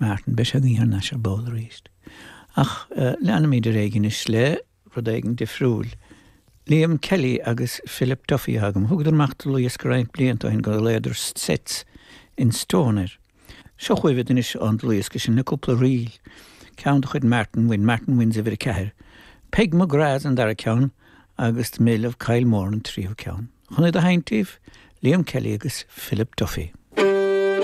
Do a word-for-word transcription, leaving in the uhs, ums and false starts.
Martin beidh sé againn thar n-ais ar ball arís. Ach uh, leanfaimid ar aghaidh anois le rud éigin difriúil. Liam Kelly agus Philip Duffy agam, thugadar amach dlúthdhiosca roinnt blianta ó shin gur ghlaodar Sets in Stone air. Seo chugaibh anois an dlúthdhiosca sin le cúpla ríl, ceann de chuid Martin Wynne, Martin Wynne's uimhir a ceathair. Peg McGrath an dara ceann agus The Mill of Kylemore an tríú ceann. Chun iad a sheinnt daoibh, Liam Kelly agus Philip Duffy.